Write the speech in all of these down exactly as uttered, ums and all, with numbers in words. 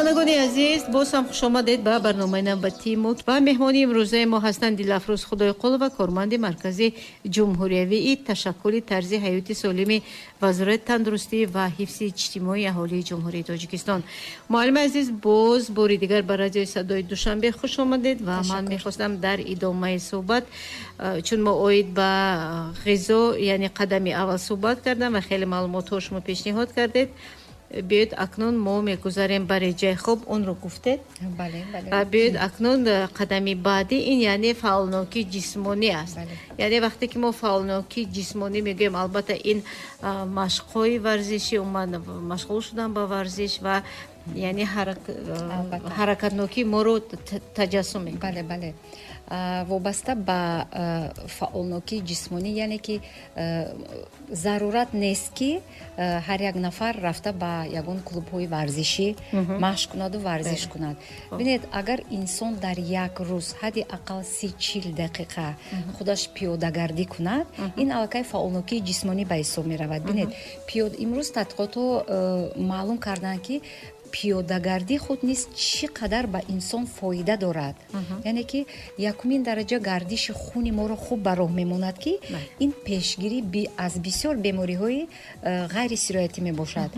Шунавандагони азиз, боз ҳам хуш омадед ба барномаи навбатии мо ва меҳмони имрӯзаи мо ҳастанд Дилафрӯз Худойқулова, корманди Маркази ҷумҳуриявии ташаккули тарзи ҳаёти солими Вазорати тандурустӣ ва ҳифзи иҷтимоии аҳолии Ҷумҳурии Тоҷикистон. Муаллими азиз, боз бори дигар ба радиои Садои Душанбе хуш омадед ва ман мехостам дар идомаи суҳбат, чун мо оид ба ғизо, яъне қадами аввал суҳбат кардам ва хеле маълумотҳо шумо пешниҳод кардед, биёед акнун мо мегузарем ба реҷаи хоб, онро гуфтед. Бале, бале. Биёед акнун қадами баъдӣ, ин яъне фаъолнокии ҷисмонӣ аст. Яъне вақте ки мо фаъолнокии ҷисмонӣ мегӯем, албатта ин машқҳои варзишӣ, умуман машғул шудан ба варзиш ва яъне ҳаракатнокии моро таҷассум мекунад. Бале, бале. Вобаста ба фаъолнокии ҷисмонӣ, яъне ки зарурат нест, ки ҳар як нафар рафта ба ягон клубҳои варзишӣ машқ кунаду варзиш кунад. Бинед, агар инсон дар як рӯз ҳадди ақал си чил дақиқа худаш пиёдагардӣ кунад, ин аллакай фаъолнокии ҷисмонӣ ба ҳисоб меравад. Бинед, имрӯз тадқиқотҳо маълум карданд, ки пиёдагардӣ худ низ чӣ қадар ба инсон фоида дорад. Яъне ки якумин дараҷа гардиши хуни моро хуб ба роҳ мемонад, ки ин пешгирӣ аз бисёр бемориҳои ғайрисироятӣ мебошад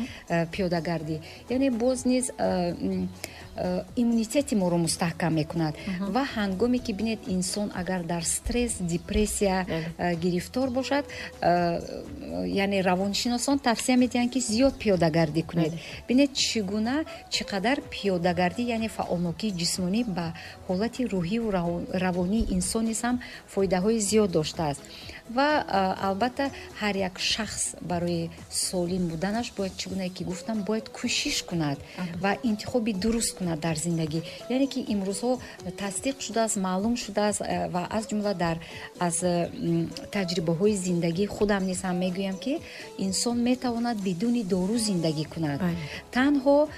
пиёдагардӣ. Яъне боз низ иммунитети моро мустаҳкам мекунад. Ва ҳангоме ки бинед, инсон агар дар стресс, депрессия гирифтор бошад, яъне равоншиносон тавсия медиҳанд, ки зиёд пиёдагардӣ кунед. Бинед, чӣ гуна, чӣ қадар пиёдагардӣ, яъне фаъолнокии ҷисмонӣ, ба ҳолати рӯҳиву равонии инсон низ ҳам фоидаҳои зиёд доштааст. Ва албатта ҳар як шахс барои солим буданаш бояд, чӣ гунае ки гуфтам, бояд кӯшиш кунад ва интихоби дуруст кунад дар зиндагӣ. Яъне ки имрӯзҳо тасдиқ шудааст, маълум шудааст ва аз ҷумла дар аз таҷрибаҳои зиндагии худам низ ҳам мегӯям, ки инсон метавонад бидуни дору зиндагӣ кунад, танҳо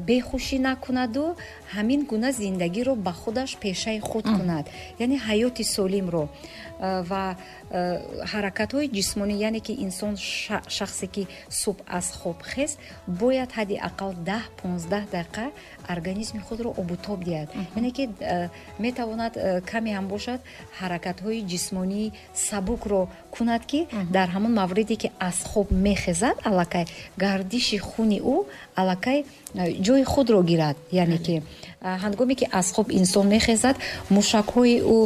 бехушӣ накунаду ҳамин гуна зиндагиро ба худаш пешаи худ кунад, яъне ҳаёти солимро ва ҳаракатҳои ҷисмонӣ. Яъне ки инсон, шахсе ки субҳ аз хоб хест, бояд ҳадди ақал даҳ понздаҳ дақиқа организми худро обутоб диҳад. Яъне ки метавонад каме ҳам бошад ҳаракатҳои ҷисмонии сабукро кунад, ки дар ҳамон мавриде ки аз хоб мехезад, аллакай гардиши хуни ӯ аллакай ҷои худро гирад. Яъне ки ҳангоме ки аз хоб инсон мехезад, мушакҳои ӯ,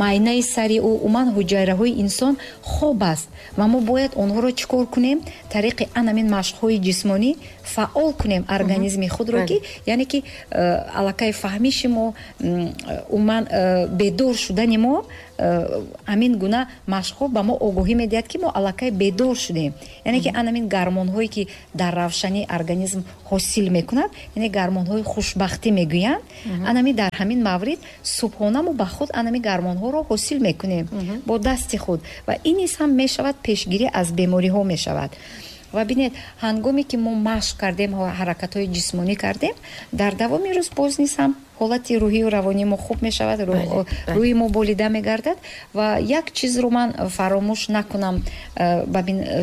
майнаи сари ӯ, умуман ҳуҷайраҳои инсон хоб аст ва мо бояд онҳоро чӣ кор кунем? Тариқи анамин машқҳои ҷисмонӣ фаъол кунем организми худро, ки яъне ки аллакай фаҳмиши мо, умуман бедор шудани мо, ҳамин гуна машқҳо ба мо огоҳӣ медиҳад, ки мо аллакай бедор шудем. Яъне ки анамин гармонҳое ки дар равшании организм ҳосил мекунад, яъне гармонҳои хушбахтӣ мегӯянд, анами дар ҳамин маврид субҳона мо ба худ анами гармонҳоро ҳосил мекунем бо дасти худ ва ин низ ҳам мешавад пешгирӣ аз бемориҳо мешавад. Ва бинед, ҳангоме ки мо машқ кардем, ҳаракатҳои ҷисмонӣ кардем, дар давоми рӯз боз низ ҳам ҳолати рӯҳию равонии мо хуб мешавад, рӯҳи мо болида мегардад. Ва як чизро ман фаромӯш накунам, ба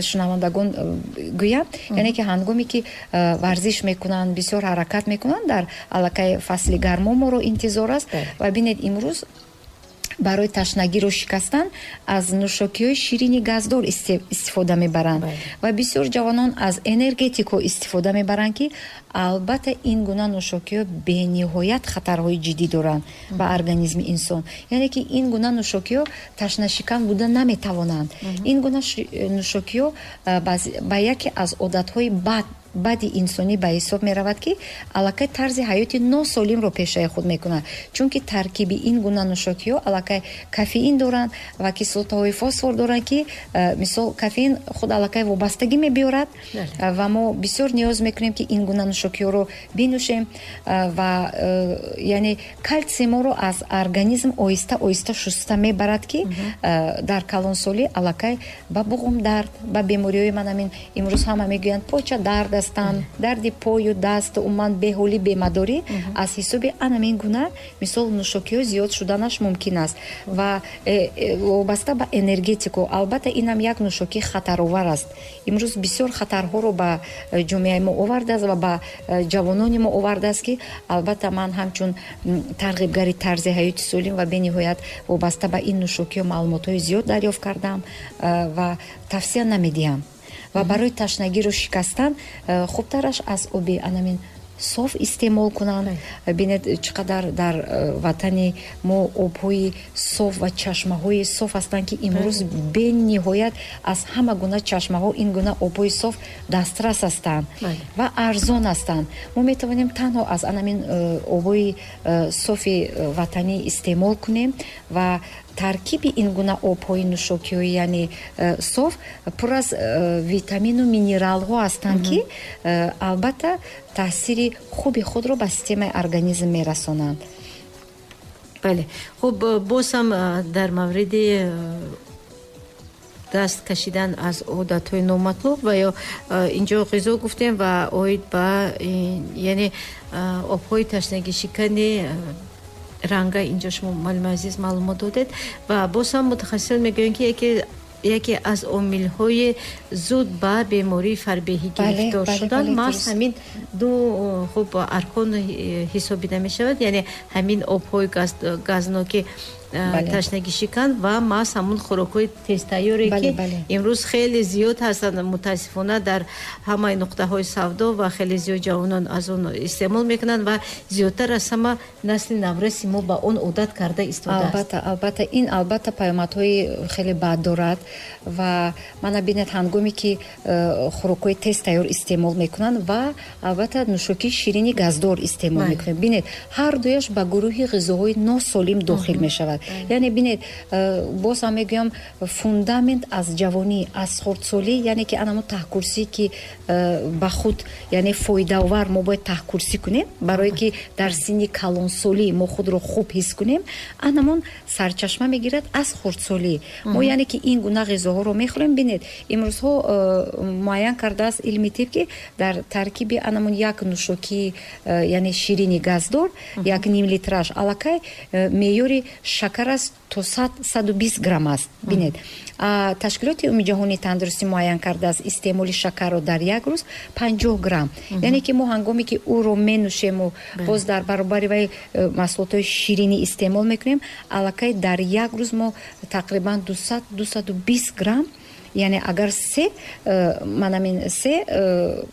шунавандагон гӯям, яъне ки ҳангоме ки варзиш мекунанд, бисёр ҳаракат мекунанд, дар аллакай фасли гармо моро интизор аст. Ва бинед, имрӯз барои ташнагиро шикастан аз нӯшокиҳои ширини газдор истифода мебаранд ва бисёр ҷавонон аз энергетикҳо истифода мебаранд, ки албатта ин гуна нӯшокиҳо бениҳоят хатарҳои ҷиддӣ доранд ба организми инсон. Яъне ки ин гуна нӯшокиҳо ташнашикан буда наметавонанд. Ин гуна нӯшокиҳо ба яке аз одатҳои бад бади инсонӣ ба ҳисоб меравад, ки аллакай тарзи ҳаёти носолимро пешаи худ мекунад, чунки таркиби ин гуна нӯшокиҳо аллакай кофеин доранд ва кислотаҳои фосфор доранд, ки мисол кофеин худ аллакай вобастагӣ мебиёрад ва мо бисёр ниёз мекунем, ки ин гуна нӯшокиҳоро бинӯшем ва яъне калсий моро аз организм оҳиста оҳиста шуста мебарад, ки дар калонсолӣ аллакай ба буғумдард, ба бемориҳои ман ҳамин имрӯз ҳама мегӯянд поча дард аст, ҳастанд, дарди пою даст, умуман беҳолӣ, бемадорӣ аз ҳисоби анамин гуна мисол нӯшокиҳо зиёд шуданаш мумкин аст. Ва э, э, вобаста ба энергетику, албатта инам як нӯшокии хатаровар аст. Имрӯз бисёр хатарҳоро ба э, ҷомеаи мо овардааст ва ба ҷавонони мо овардааст, ки албатта ман ҳамчун тарғибгари тарзи ҳаёти солим ва бениҳоят вобаста ба ин нӯшокиҳо маълумотҳои зиёд дарёфт кардам ва тавсия намедиҳам. Ва барои ташнагиро шикастан хубтараш аз оби анамин соф истеъмол кунанд. Бинед, чӣ қадар дар э, ватани мо обҳои соф ва чашмаҳои соф ҳастанд, ки имрӯз бениҳоят аз ҳама гуна чашмаҳо ин гуна обҳои соф дастрас ҳастанд ва арзон ҳастанд. Мо метавонем танҳо аз анамин э, обҳои э, софи ватанӣ истеъмол кунем ва таркиби ин гуна обҳои нӯшокиҳои, яъне э, соф, пур аз э, витамину минералҳо ҳастанд, ки э, албатта таъсири хуби худро ба системаи организм мерасонанд. Бале, хуб, боз ҳам дар мавриди даст кашидан аз одатҳои номатлуб ва ё инҷо ғизо гуфтем ва оид ба, яъне, обҳои ташнагишикани ранга, инҷо шумо, муаллими азиз, маълумот додед. Ва боз ҳам мутахассисон мегӯянд, ки яке яке аз омилҳои зуд ба бемории фарбеҳӣ гирифтор шудан маҳз ҳамин ду, хуб, аркон ҳисобида мешавад, яъне ҳамин обҳои газноки ташнагишикан ва маҳз ҳамун хӯрокҳои тезтайёре, ки имрӯз хеле зиёд ҳастанд, мутаассифона, дар ҳамаи нуқтаҳои савдо ва хеле зиёд ҷавонон аз он истеъмол мекунанд ва зиёдтар аз ҳама насли навраси мо ба он одат карда истодааст. Албатта, албатта, ин албатта паёмадҳои хеле бад дорад. Ва мана бинед, ҳангоме ки э, хӯрокҳои тезтайёр истеъмол мекунанд ва албатта нӯшокии ширини газдор истеъмол мекунанд, бинед, ҳар дуяш ба гурӯҳи ғизоҳои носолим дохил мешавад. Яъне бинед, э, боз ҳам мегӯям, фундамент аз ҷавонӣ, аз хурдсолӣ, яъне ки анамо таҳкурсӣ, ки э, ба худ, яъне, фоидаовар мо бояд таҳкурсӣ кунем, барое ки дар синни калонсолӣ мо худро хуб ҳис кунем, анамон сарчашма мегирад аз хурдсолӣ. Мо, яъне ки, ин гуна ғизоҳоро мехӯрем. Бинед, имрӯзҳо э, муайян кардааст илми тиб, ки дар таркиби анамон як нӯшокии, яъне ширини газдор, як ним литраш аллакай меъёри шакар аст то саду бист грамм аст. Бинед, Ташкилоти Умумиҷаҳонии тандурустӣ муайян кардааст истеъмоли шакарро дар як рӯз панҷоҳ грамм. Яъне ки мо ҳангоме ки ӯро менӯшему боз дар баробари вай э, маҳсулотҳои ширинӣ истеъмол мекунем, аллакай дар як рӯз мо тақрибан дусад дусаду бист грамм, яъне агар се э, манамин се э,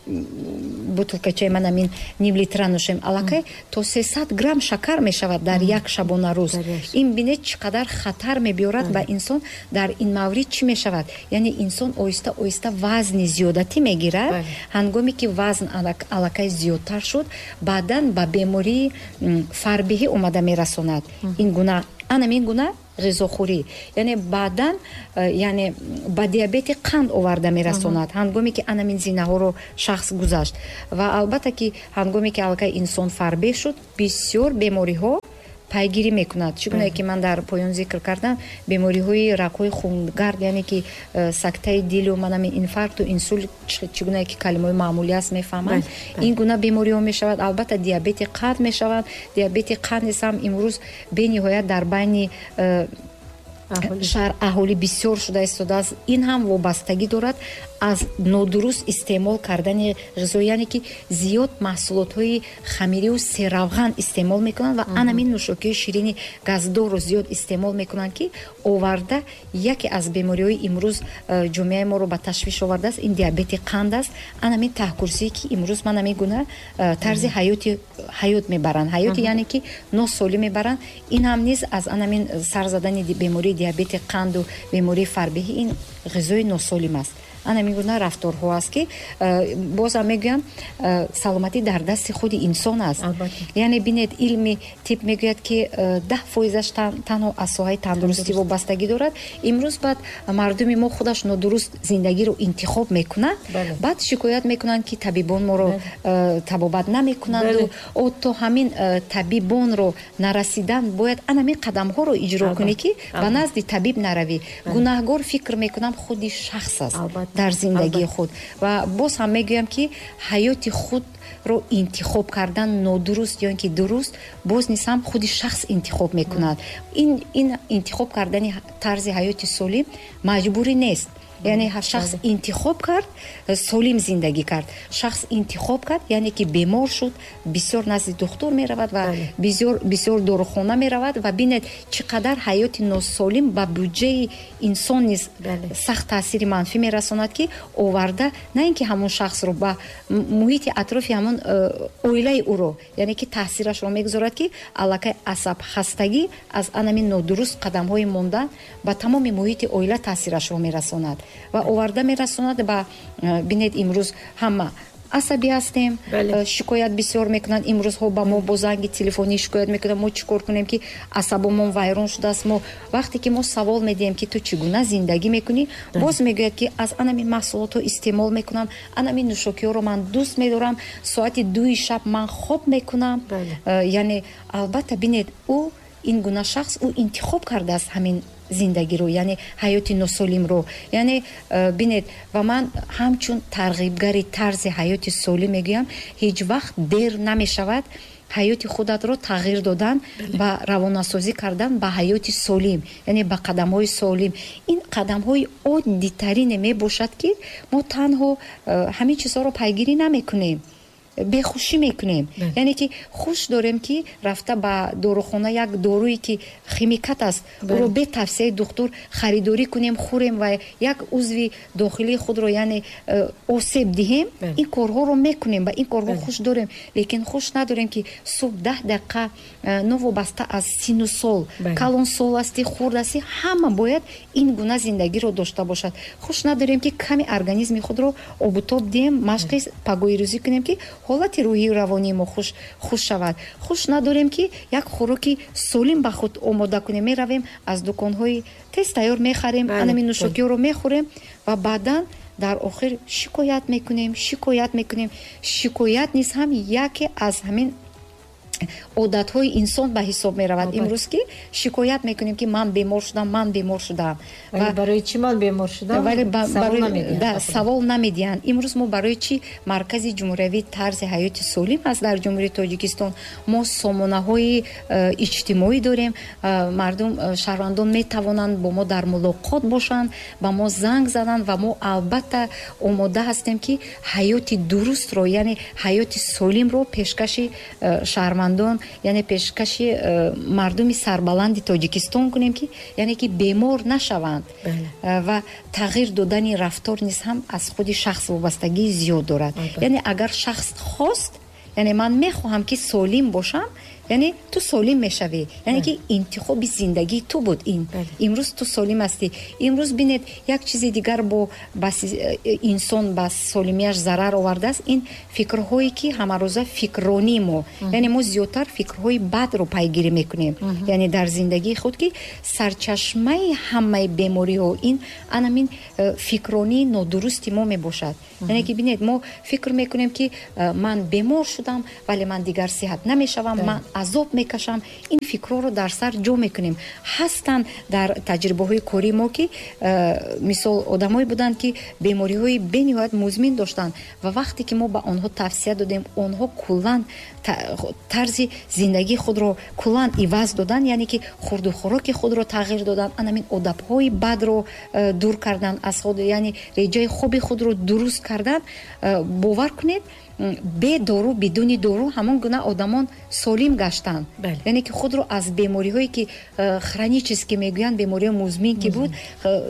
бутылкачаи манамин ним литра нӯшем, аллакай то сесад грамм шакар мешавад дар як шабонарӯз. Ин бинед, чӣ қадар хатар мебиёрад ба инсон. Дар ин маврид чӣ мешавад? Яъне инсон оҳиста оҳиста вазни зиёдатӣ мегирад. Ҳангоме ки вазн аллакай зиёдтар шуд, баъдан ба бемории фарбеҳӣ омада мерасонад ин гуна, анамин гуна ғизохӯрӣ, яъне баъдан э, яъне ба диабети қанд оварда мерасонад, ҳангоме ки анамин зинаҳоро шахс гузашт. Ва албатта ки ҳангоме ки аллакай инсон фарбеҳ шуд, бисёр бемориҳо пайгирӣ мекунад. Чӣ гунае ки ман дар поён зикр кардам, бемориҳои рагҳои хунгард, яъне ки э, сактаи дилу манами инфаркту инсулт, чӣ гунае ки калимаҳои маъмулӣ аст, мефаҳманд, ин гуна бемориҳо мешавад. Албатта диабети қанд мешавад. Диабети қанд низ ҳам имрӯз бениҳоят дар байни э, шаҳр аҳолӣ бисёр шуда истодааст. Ин ҳам вобастагӣ дорад аз нодуруст истеъмол кардани ғизо, яъне ки зиёд маҳсулотҳои хамириву серавған истеъмол мекунанд ва анамин нӯшокиҳои ширини газдорро зиёд истеъмол мекунанд, ки оварда яке аз бемориҳои имрӯз э, ҷомеаи моро ба ташвиш овардааст, ин диабети қанд аст. Анамин таҳкурсие, ки имрӯз ман ҳамин гуна э, тарзи ҳаёти ҳаёт мебаранд, ҳаёти, яъне ки носолим мебаранд, ин ҳам низ аз анамин сар задани бемории диабети қанду бемории фарбеҳӣ ин ғизои носолим аст. Ана ҳамин гуна рафторҳо аст, ки э, бозам мегӯям, э, саломатӣ дар дасти худи инсон аст. Яъне бинед, илми тиб мегӯяд, ки э, даҳ фоизаш танҳо аз соҳаи тандурустӣ вобастагӣ дорад. Имрӯз баъд мардуми мо худаш нодуруст зиндагиро интихоб мекунад, баъд шикоят мекунанд, ки табибон моро табобат намекунанду. То ҳамин табибонро нарасидан бояд ана ҳамин қадамҳоро иҷро кунӣ, ки ба назди табиб наравӣ. Гунаҳгор, фикр мекунам, худи шахс аст. дар зиндагии худ. Ва боз ҳам мегӯям, ки ҳаёти худро интихоб кардан нодуруст ё ин ки дуруст, боз низ ҳам худи шахс интихоб мекунад. Ин, ин интихоб кардани тарзи ҳаёти солим маҷбурӣ нест. Яъне шахс интихоб кард, солим зиндагӣ кард. Шахс интихоб кард, яъне ки бемор шуд, бисёр назди духтур меравад ва бисёр, бисёр дорухона меравад ва бинед чӣ қадар ҳаёти носолим ба буҷаи инсон низ сахт таъсири манфӣ мерасонад, ки оварда на ин ки ҳамон шахсро ба муҳити атрофи ҳамон оилаи ӯро, яъне ки таъсирашро мегузорад, ки аллакай асабхастагӣ аз анами нодуруст қадамҳои мондан ба тамоми муҳити оила таъсирашро мерасонад ва оварда мерасонад ба, бинед, имрӯз ҳама асабӣ ҳастем, шикоят бисёр мекунанд. Имрӯзҳо ба мо бо занги телефонӣ шикоят мекунанд, мо чӣ кор кунем, ки асабомон вайрон шудааст. Мо вақте ки мо савол медиҳем, ки ту чӣ гуна зиндагӣ мекунӣ, боз мегӯяд, ки аз анами маҳсулотҳо истеъмол мекунам, анами нӯшокиҳоро ман дӯст медорам, соати дуи шаб ман хоб мекунам. Яъне албатта бинед, ӯ ин гуна шахс ӯ интихоб кардааст ҳамин зиндагиро, яъне ҳаёти носолимро. Яъне бинед, ва ман ҳамчун тарғибгари тарзи ҳаёти солим мегӯям, ҳеҷ вақт дер намешавад ҳаёти худатро тағйир додан ва равонасозӣ кардан ба ҳаёти солим, яъне ба қадамҳои солим. Ин қадамҳои оддитарине мебошад, ки мо танҳо ҳамин чизҳоро пайгирӣ намекунем, бехушӣ мекунем. Яъне ки хуш дорем, ки рафта ба дорухона як доруе ки химикат аст, ӯро бе тавсияи духтур харидорӣ кунем, хӯрем ва як узви дохилии худро, яъне осеб диҳем. Ин корҳоро мекунем ва ин корҳо хуш дорем, лекин хуш надорем, ки субҳ даҳ дақиқа, новобаста аз сину сол, калонсол ҳастӣ, хурд ҳастӣ, ҳама бояд ин гуна зиндагиро дошта бошад. Хуш надорем, ки ками организми худро обутоб диҳем, машқи пагоҳирӯзӣ кунем, ки ҳолати рӯҳию равонии мо хуш, хуш шавад. Хуш надорем, ки як хӯроки солим ба худ омода кунем. Меравем аз дуконҳои тез тайёр мехарем, анами нӯшокиҳоро мехӯрем ва баъдан дар охир шикоят мекунем, шикоят мекунем. Шикоят низ ҳам яке аз ҳамин одатҳои инсон ба ҳисоб меравад. Имрӯз ки шикоят мекунем, ки ман бемор шудам, ман бемор шудам. Ва барои чӣ ман бемор шудам? Савол намедиҳанд. Имрӯз мо барои чӣ Маркази ҷумҳуриявии тарзи ҳаёти солим аст дар Ҷумҳурии Тоҷикистон? Мо сомонаҳои иҷтимоӣ дорем, мардум, шаҳрвандон метавонанд бо мо дар мулоқот бошанд, ба мо занг зананд ва мо албатта омода ҳастем, ки ҳаёти дурустро, яъне ҳаёти солимро пешкаши шаҳрвандон, яъне пешкаши мардуми сарбаланди Тоҷикистон кунем, ки яъне ки бемор нашаванд. Ва тағйир додани рафтор низ ҳам аз худи шахс вобастагии зиёд дорад. Яъне агар шахс хост, яъне ман мехоҳам, ки солим бошам, яъне ту солим мешавӣ, яъне ки интихоби зиндагии ту буд ин. Имрӯз ту солим ҳастӣ. Имрӯз бинед, як чизи дигар бо инсон ба солимияш зарар овардааст, ин фикрҳое ки ҳамарӯза фикрронии мо, яъне мо зиёдтар фикрҳои бадро пайгирӣ мекунем, яъне дар зиндагии худ, ки сарчашмаи ҳамаи бемориҳо ин анамин фикрронии нодурусти мо мебошад. Яъне ки бинед, мо фикр мекунем, ки ман бемор шудам, вале ман дигар сиҳат намешавам, ман азоб мекашам. Ин фикрҳоро дар сар ҷо мекунем. Ҳастанд дар таҷрибаҳои кории мо, ки мисол одамое буданд, ки бемориҳои бениҳоят музмин доштанд ва вақте ки мо ба онҳо тавсия додем, онҳо куллан тарзи зиндагии худро куллан иваз доданд, яъне ки хурду хӯроки худро тағйир доданд, анамин одабҳои бадро дур карданд аз худ, яъне реҷаи хоби худро дуруст карданд. Бовар кунед, бе дору, бидуни дору ҳамон гуна одамон солим гаштанд. Яъне ки худро аз бемориҳое ки хронически мегӯянд, бемориҳои музмин ки буд,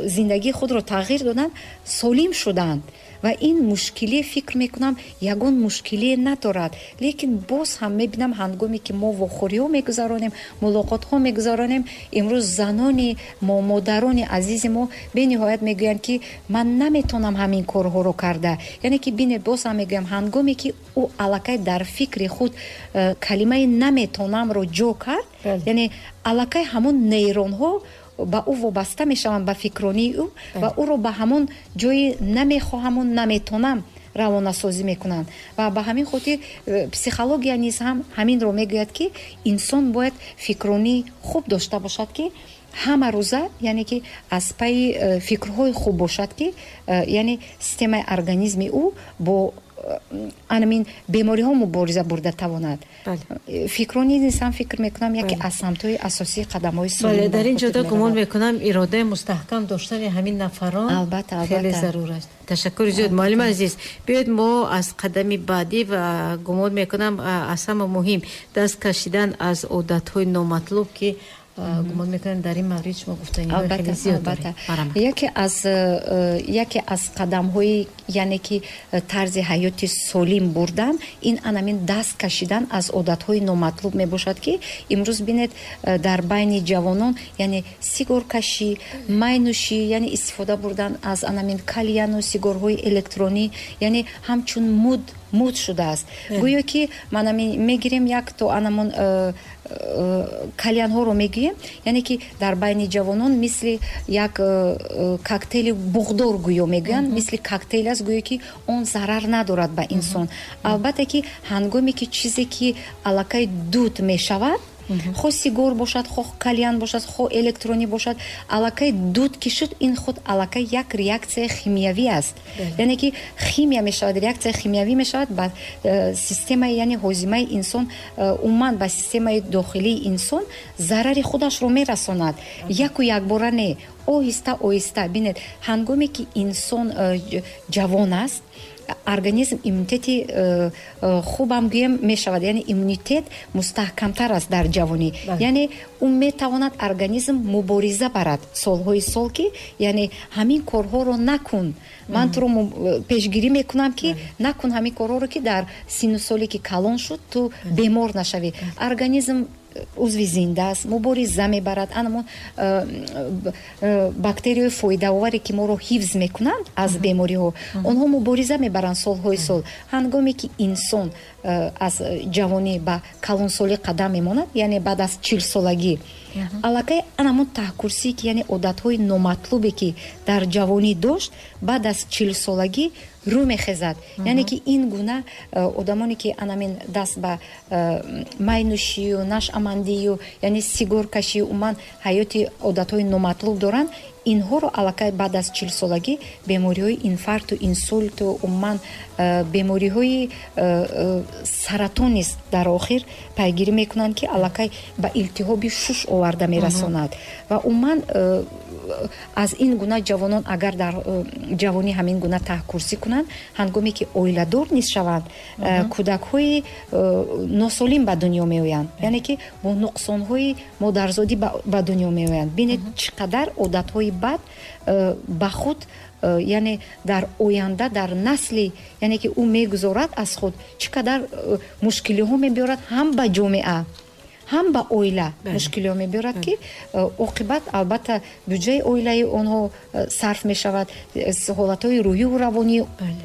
зиндагии худро тағйир доданд, солим шуданд. Ва ин мушкиле, фикр мекунам, ягон мушкиле надорад. Лекин боз ҳам мебинам, ҳангоме ки мо вохӯриҳо мегузаронем, мулоқотҳо мегузаронем, имрӯз занони мо, модарони азизи мо бениҳоят мегӯянд, ки ман наметонам ҳамин корҳоро карда. Яъне ки бинед, боз ҳам мегӯям, ҳангоме ки ӯ аллакай дар фикри худ калимаи наметонамро ҷо кард, яъне аллакай ҳамон нейронҳо ба ӯ вобаста мешаванд, ба фикронии ӯ, ва ӯро ба ҳамон ҷои намехоҳаму наметонам равонасозӣ мекунанд. Ва ба ҳамин хотир психология низ ҳам ҳаминро мегӯяд, ки инсон бояд фикронии хуб дошта бошад, ки Ҳама рӯза, яъне ки аз пайи фикрҳои хуб бошад, ки яъне системаи организми ӯ бо анамин бемориҳо мубориза бурда тавонад. Фикрҳо низ ҳам, фикр мекунам, яке аз самтҳои асосии қадамҳои солим. Дар ин ҷода гумон мекунам, иродаи мустаҳкам доштани ҳамин нафарон хеле зарур аст. Ташаккури зиёд, муаллими азиз. Биёед, мо аз қадами баъдӣ ва гумон мекунам, аз ҳама муҳим даст кашидан аз одатҳои номатлуб, ки гумон мекунам, дар ин маврид шумо гуфтаниҳои хеле зиёд доред. Яке аз яке аз қадамҳои, яъне ки тарзи ҳаёти солим бурдан, ин анамин даст кашидан аз одатҳои номатлуб мебошад, ки имрӯз бинед, дар байни ҷавонон, яъне сигоркашӣ, майнӯшӣ, яъне истифода бурдан аз анамин кальяну сигорҳои электронӣ, яъне ҳамчун муд муд шудааст. Гӯё ки манамин мегирем як то анамон э, э, кальянҳоро мегӯем, яъне ки дар байни ҷавонон мисли як э, коктейли буғдор гӯё мегӯянд, мисли коктейл аст, гӯё ки он зарар надорад ба инсон. Албатта ки ҳангоме ки чизе ки аллакай дуд мешавад, хоҳ сигор бошад, хоҳ кальян бошад, хоҳ электронӣ бошад, аллакай дуд ки шуд, ин худ аллакай як реаксияи химиявӣ аст, яъне ки химия мешавад, реаксияи химиявӣ мешавад ба э, системаи, яъне ҳозимаи инсон, э, умуман ба системаи дохилии инсон зарари худашро мерасонад. Яку якбора не, оҳиста оҳиста. Бинед, ҳангоме ки инсон э, ҷавон аст, организм иммунитети э, э, хубам гӯем мешавад, яъне иммунитет мустаҳкамтар аст дар ҷавонӣ, яъне ӯ метавонад, организм мубориза барад солҳои сол, ки яъне ҳамин корҳоро накун, ман туро пешгирӣ мекунам, ки накун ҳамин корҳоро, ки дар синну соле ки калон шуд, ту бемор нашавӣ. Организм узви зинда аст, мубориза мебарад. Анамон э, э, бактерияҳои фоидаоваре ки моро ҳифз мекунанд аз бемориҳо, онҳо мубориза мебаранд солҳои сол. Ҳангоме ки инсон э, аз ҷавонӣ ба калонсолӣ қадам мемонад, яъне баъд аз чилсолагӣ, аллакай анамон таҳкурсие ки, яъне одатҳои номатлубе ки дар ҷавонӣ дошт, баъд аз чилсолагӣ рӯ мехезад. Яъне ки ин гуна э, одамоне ки анамин даст ба э, майнӯшию нашъамандию, яъне сигоркашию, умуман ҳаёти одатҳои номатлуб доранд, инҳоро аллакай баъд аз чилсолагӣ бемориҳои инфаркту инсульту, умуман э, бемориҳои саратон низ дар охир пайгирӣ мекунанд, ки аллакай ба илтиҳоби шуш оварда мерасонад. Ва умуман аз ин гуна ҷавонон, агар дар ҷавонӣ ҳамин гуна таҳкурсӣ кунанд, ҳангоме ки оиладор низ шаванд, кӯдакҳои носолим ба дунё меоянд, яъне ки бо нуқсонҳои модарзодӣ ба дунё меоянд. Бинед, чӣ қадар одатҳои бад ба худ, яъне дар оянда, дар насли, яъне ки ӯ мегузорад аз худ, чӣ қадар мушкилиҳо мебиёрад, ҳам ба ҷомеа, ҳам ба оила мушкилиҳо мебиёрад, ки э, оқибат, албатта, буҷаи оилаи онҳо э, сарф мешавад, э, ҳолатҳои рӯҳиву равонии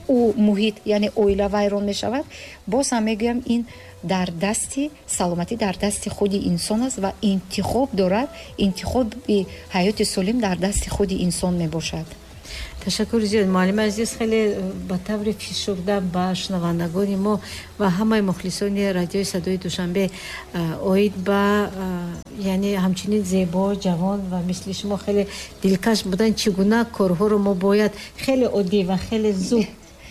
ӯ, муҳит, яъне оила вайрон мешавад. Боз ҳам мегӯям, ин дар дасти саломатӣ дар дасти худи инсон аст ва интихоб дорад. Интихоби ҳаёти солим дар дасти худи инсон мебошад. Ташаккури зиёд, муаллими азиз. Хеле ба таври фишурда ба шунавандагони мо ва ҳамаи мухлисони радиои Садои Душанбе оид ба, яъне ҳамчунин зебо, ҷавон ва мисли шумо хеле дилкаш будан, чӣ гуна корҳоро мо бояд хеле оддӣ ва хеле зуд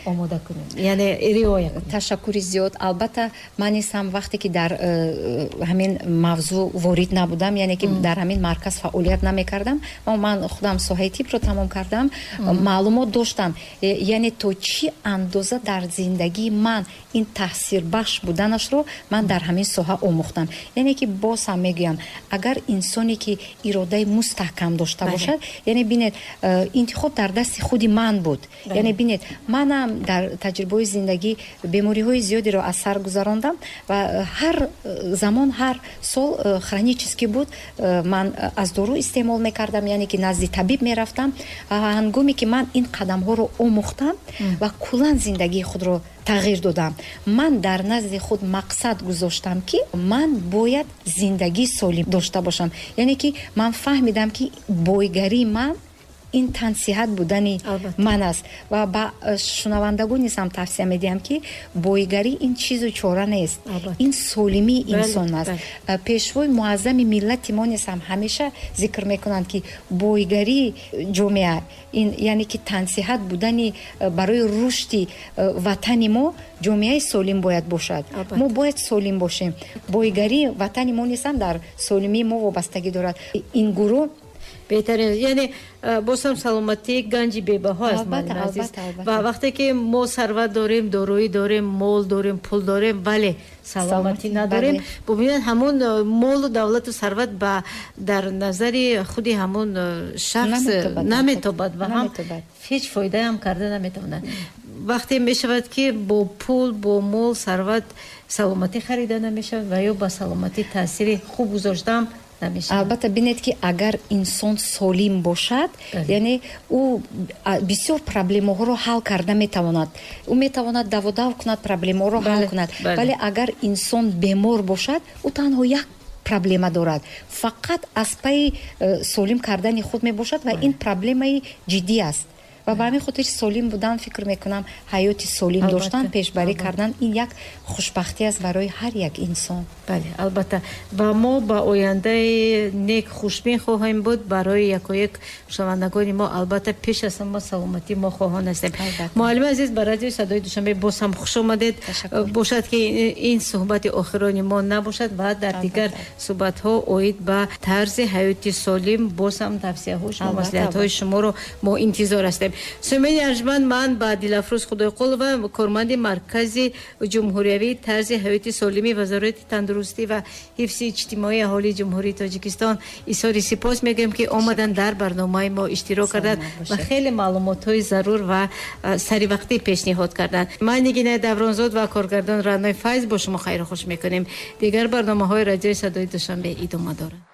омода кунем, яъне риоя кунем. Ташаккури зиёд. Албатта, ман низ ҳам вақте ки дар э, ҳамин мавзӯъ ворид набудам, яъне ки дар ҳамин марказ фаъолият намекардам, ман худам соҳаи тибро тамом кардам, маълумот доштам, э, яъне то чӣ андоза дар зиндагии ман ин таъсирбахш буданашро ман дар ҳамин соҳа омӯхтам. Яъне ки боз ҳам мегӯям, агар инсоне ки иродаи мустаҳкам дошта бошад, яъне бинед, э, интихоб дар дасти худи ман буд. Яъне бинед, манам дар таҷрибаҳои зиндагӣ бемориҳои зиёдеро аз сар гузарондам ва ҳар замон, ҳар сол э, хронический буд, э, ман аз дору истеъмол мекардам, яъне ки назди табиб мерафтам. Ҳангоме ки ман ин қадамҳоро омӯхтам ва куллан зиндагии худро тағйир додам, ман дар назди худ мақсад гузоштам, ки ман бояд зиндагии солим дошта бошам. Яъне ки ман фаҳмидам, ки бойгарии ман Ин тансиҳат будани ман аст. Ва ба шунавандагон низ ҳам тавсия медиҳам, ки боигарӣ ин чизу чора нест, ин солимии инсон аст. Пешвои муаззами миллати мо низ ҳам ҳамеша зикр мекунанд, ки боигарии ҷомеа ин яъне ки тансиҳат будани барои рушди ватани мо ҷомеаи солим бояд бошад. Мо бояд солим бошем. Боигарии ватани мо низ ҳам дар солимии мо вобастагӣ дорад. Ин гурӯҳ беҳтарин, яъне боз ҳам саломатӣ ганҷи бебаҳо аст, муаллими азиз. Ва вақте ки мо сарват дорем, дороӣ дорем, мол дорем, пул дорем, вале саломатӣ надорем, бубинед ҳамон молу давлату сарват ба дар назари худи ҳамон шахс наметобад ва ҳам ҳеҷ фоидаам карда наметавонад. Вақте мешавад, ки бо пул, бо мол, сарват саломатӣ харида намешавад ва ё ба саломатӣ таъсири хуб гузоштаам намешавад. Албатта, бинед, ки агар инсон солим бошад, яъне ӯ бисёр проблемаҳоро ҳал карда метавонад, ӯ метавонад даводав кунад, проблемаҳоро ҳал кунад. Вале агар инсон бемор бошад, ӯ танҳо як проблема дорад, фақат аз пайи э, солим кардани худ мебошад ва ин проблемаи ҷиддӣ аст. Ва ба ҳамин хотир солим будан, фикр мекунам, ҳаёти солим доштан, пешбарӣ кардан ин як хушбахтӣ аст барои ҳар як инсон. Бале, албатта, ва мо ба ояндаи нек хушбин хоҳем буд барои якояк шунавандагони мо. Албатта, пеш аз ҳама саломатӣ мо хоҳон ҳастем. Муаллими азиз, ба радиои Садои Душанбе боз ҳам хуш омадед. Бошад, ки ин суҳбати охирони мо набошад ва дар дигар суҳбатҳо оид ба тарзи ҳаёти солим боз ҳам тавсияҳо шумо, маслиҳатҳои шуморо мо интизор ҳастем. Сумени арҷманд, ман ба Дилафрӯз Худойқулова, корманди Маркази ҷумҳуриявии тарзи ҳаёти солими Вазорати тандурустӣ ва ҳифзи иҷтимоии аҳолии Ҷумҳурии Тоҷикистон изҳори сипос мегӯем, ки омаданд, дар барномаи мо иштирок карданд ва хеле маълумотҳои зарур ва саривақтӣ пешниҳод карданд. Ман Нигинаи Давронзод ва коргардон Раънои Файз бо шумо хайру хуш мекунем. Дигар барномаҳои радиои Садои Душанбе идома доранд.